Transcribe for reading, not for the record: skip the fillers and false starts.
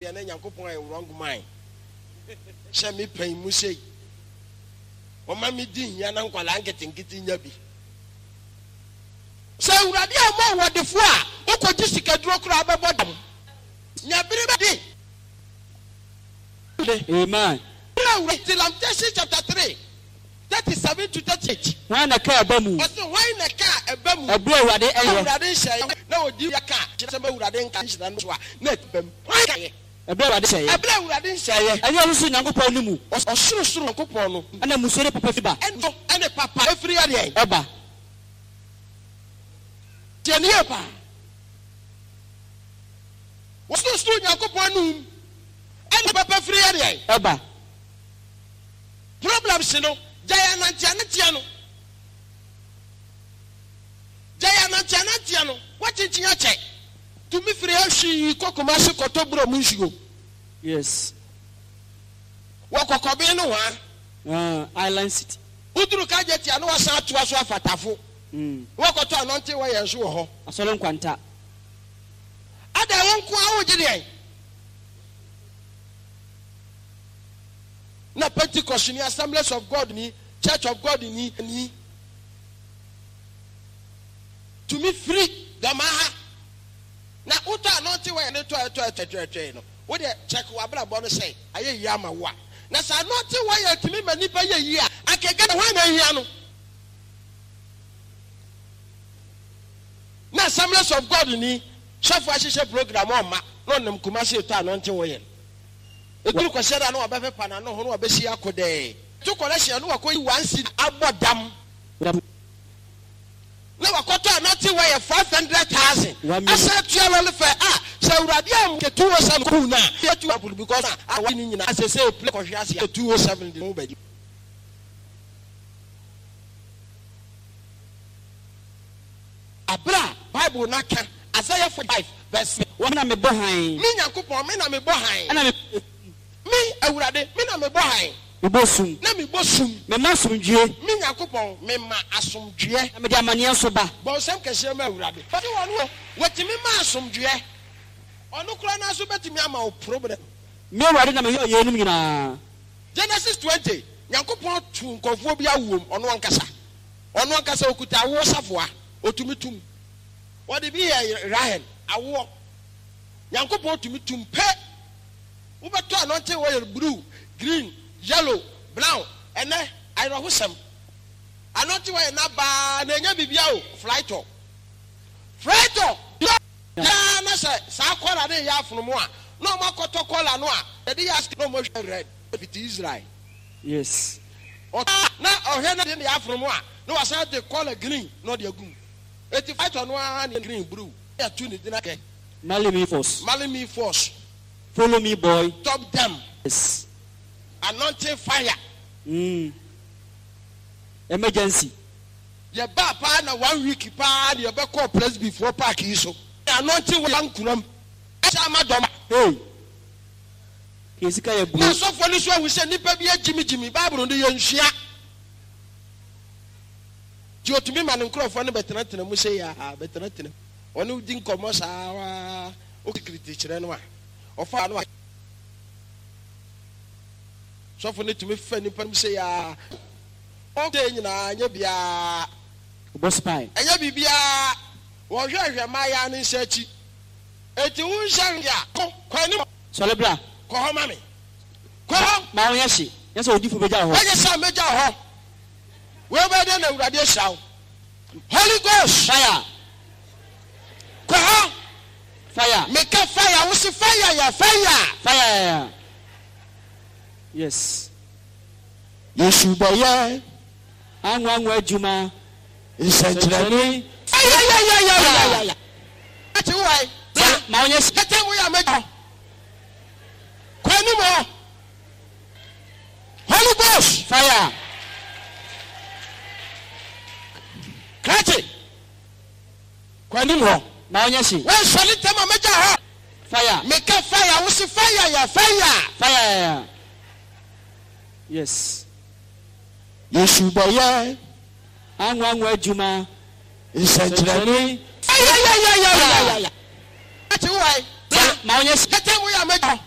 Deɛ na Nyankopɔn ayɛ wrong mind hyɛ me pɛn mu sei ɔma me di hia na nkwadaa nketenkete nya bi. Sɛ Awurade ammɔ wo ɔdefoɔ a, wokɔgye sikaduro koraa bɛbɔ dam. Nya bere bɛde. Amen. Awurade, Lamentations chapter 3, 37 to 38. Hwan na ɛkaa ɛba mu? Ɔse hwan na ɛkaa ɛba mu? Ɛberɛ a Awurade ɛyɛ. Awurade nhyɛeɛ na ɔdi ka kyerɛ sɛ Awurade nka nhyira no so a na ɛba mu. Hwan kaeɛ? Ɛberɛ a Awurade hyɛeɛ. Ɛberɛ a Awurade nhyɛeɛ. Ɛnyɛ ɔsorosoro Nyankopɔn no mu. Ɔsorosoro Nyankopɔn no. Ɛna mmusuo ne papa firi ba. Ɛna ɛne papa firi ɛdeɛn? Ɛba. Tie no yie paa. Ɔsorosoro Nyankopɔn no mu. Ɛna papa firi ɛdeɛn? Ɛba. Problems no, gyae ananteananteɛ no. Gyae ananteananteɛ no, woakyinkyin akyɛ. Tumi firi ha hwii kɔ Kumasi kɔtɔ bura mu nsuo. Yes. Wɔ Kɔkɔben nohoa. Ah, Island City. Woduru Kajeti a na wasan atoa so afa Tafo. Na wakɔtɔ anɔnte wɔ yɛn so wɔ hɔ. Asɔre Nkwanta. Adɛn, wo nko ara wogye deɛn? Na Pentecost ni, Assemblies of God ni, Church of God ni, ni tumi firi dɔmaa ha na wotɔ anointing oil no tɔ ɛtɔ ɛtɔ ɛtɔ ɛtɔ no, wo deɛ check w'abrabɔ no sɛ ayɛ yie ama wo a. Na sɛ anointing oil tumi ma nipa yɛ yie a, anka Ghana hwan na ahia no? Na Assemblies of God ni sɔfo ahyehyɛ program ɔmma na ɔnam Kumasi retɔ anointing oil. Ɛduru Kwasiada a na wabɛpepa n'ano ho na wabɛsi akodɛɛ. To kɔlɛhyen a na wakɔyi one cedi abɔ dam. Na wakɔtɔ anointing oil 500,000 asan atua lɔre fare a sɛ Awurade ammɔ 207 kuu no a yɛtu apolo because na aware no nyinaa sesei plane kɔhwe ase a 207 de ho bɛgye. Bere a Bible no aka Isaiah 45 verse. Me na mebɔ hann. Me Nyankopɔn, me na mebɔ hann. Ɛna mebɔ esum. Me, Awurade, me na mebɔ hann. Mebɔ sum. Na mebɔ sum. Mema asomdwoeɛ. Me Nyankopɔn, mema asomdwoeɛ. Na mede amaneɛ nso ba. Bɔ nsɛm kɛseɛ ma Awurade. Ɔte wɔn o, wɔtumi ma asomdwoeɛ. Ɔno koraa no ara nso bɛtumi ama wo problem. Me Awurade na meyɔɔ yeinom nyinaa. Genesis 20, Nyankopɔn too nkurɔfoɔ bi awoɔ mu, ɔno ankasa. Ɔno ankasa ɔkuta awoɔ safoa, ɔtumi tum. Wɔde bi yɛɛ Rahel awoɔ. Nyankopɔn tumi tum pɛ. Wobɛtɔ anointing oil blue, green, yellow, brown. Ɛnɛ, ayerɛhosɛm. Anointing oil no aba ara na ɛnyɛ biribiara o, flytɔ. Flytɔ! Biara na sɛ saa kɔla no reyɛ afonomo a, na wɔn akɔtɔ kɔla no a yɛde yɛ asika na wɔn ahwɛ red fiti Israel. Yes. Ɔtɔ a na ɔhwɛ na de ne afonomo a na wasan de kɔla green na ɔde agu mu. Eti fighter no ara ne green blue na yɛato ne din akɛ. Marley me force. Marley me force. Follow me boy. Top them. Yes. Anointing fire. Emergency. Yɛbaa paa na one week paa na yɛbɛkɔɔ Presby foɔ park yi so. Anointing wɔ ankoram ɛhyɛ ama dɔm. Hey. Yɛn sika yɛ Na buro. asɔfoɔ no nso ahu sɛ nnipa bi agyimigyimi Bible no yɛnsua. Nti otumi ma ne nkurɔfoɔ no bɛtenatena mu sei ara, bɛtenatena mu. Ɔne wo di nkɔmmɔ saa ara, wokirikiri kyerɛ no a, ɔfa no a. Sɔfo no tumi fa nnipa no mu sei ara. Wɔn nyinaa, ɛnyɛ biara. Ɔbɔ spy. Ɛnyɛ biribiara. Wɔhwɛhwɛ mmaayaa no nsa akyi. Enti wo nsa hwɛ a, kɔ, kɔ anim. Sɔre bra. Kɔ hɔ ma me. Kɔ hɔ. Ma wo nyɛ hye. Nyɛ sɛ odifo begya wo hɔ. Ɛnyɛ sɛ megya wo hɔ. Wei bɛyɛ dɛn na Awurade ahyira wo? Holy Ghost. Fire. Kɔ hɔ. Fire. Meka fire, wo se fire yɛ fire. Fire. Yes. Yesu bɛyɛ. Anwanwa adwuma. Nsɛnkyerɛnne. Ayayayayayaya. Ati wo ayi. Ma wo nyɛ hye. Kɛtɛ mu yɛ amagya hɔ. Kɔ anim hɔ. Holy Ghost. Fire. Krakye. Kɔ anim hɔ. Ma wo nyɛ hye. Wɔnsɔre ntɛm a mɛgya hɔ. Fire. Meka fire, wo se fire yɛ fire. Fire. Yes. Yesu bɛyɛ. Anwanwa adwuma. Nsɛnkyerɛnne. Ayayayayayaya. Ati wo ayi. Ma wo nyɛ hye. Kɛtɛ mu yɛ amagya hɔ.